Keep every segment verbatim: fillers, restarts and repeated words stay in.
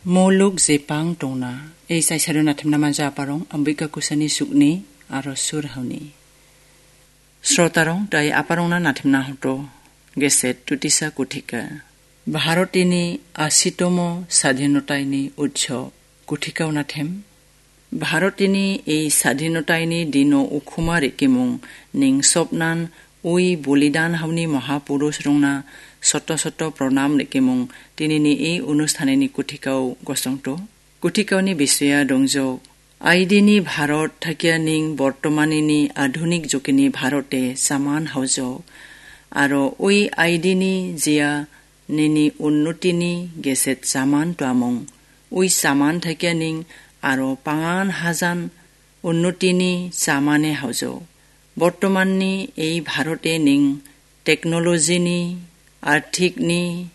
Moluk jepang tongna, ei saisaro natimna manja aparong, ambika kusani sukni, aro sur hauni. Srotarong, dai aparongna natimna hoto, geset tutisa kutika. Bharotini asitomo sadhinotaini utso kutikao natim. Bharotini ei sadhinotaini dino ukhuma rikimung ning sopnan ui bolidan hauni mahapurush rongna soto soto pronam rikimung tinini ei onusthanini kutikao gosongto. Kutikaoni bisoya dongjok. Aidini Bharot thakia ning bortomanini adhunik jokini Bharote saman haujok. Aro ui aidini jia nini unnotini geset saman tuamung. Ui saman thakia ning aro pangan hajan unnotini samane haujok. Bortomanni ei Bharote ning teknolojini, arthikni,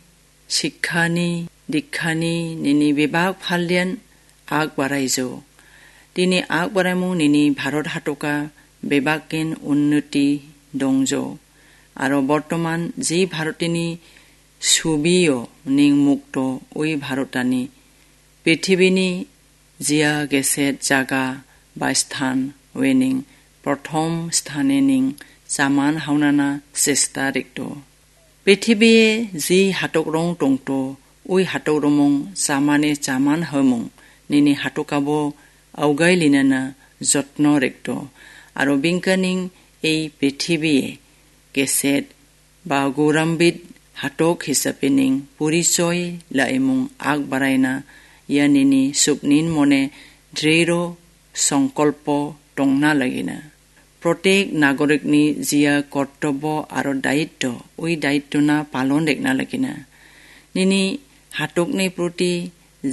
sikkani, dikkani nini bebak palian ag baraijo. Tini ag baraimung nini Bharot hatoka bebakin unnoti dongjo. Aro bortoman ji Bharotini subio ning mukto ui Bharotani prithibini jia geset jaga ba sthan wening prothom sthane ning saman haunana sesta rikto. Prithibie ji hatokrong tongto, ui hatokromong samane saman haumung, nini hatokabo augai linana jotno rikto. Aro bingkaning ei prithibie geset ba gourambit hatok hisape ning porichoi la·emung ag baraina ia nini suknin mone driro songkolpo tongna lagina. Protek nagorikni jia kortobo aro daitto, ui daittona palon rekna lagina. Nini hatokni proti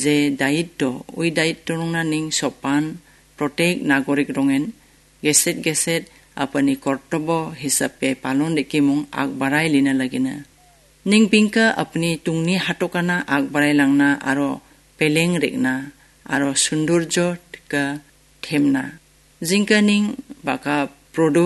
je daitto, ui daitto rongna ning sopan protek nagorik rongen geset-geset apani kortobo hisape palon rikimung ag barai lina lagina. Ning bingka apani tungni hatokana ag barai langna aro peleng rekna aro sundurjo tika themna. Jingkaning baka prodo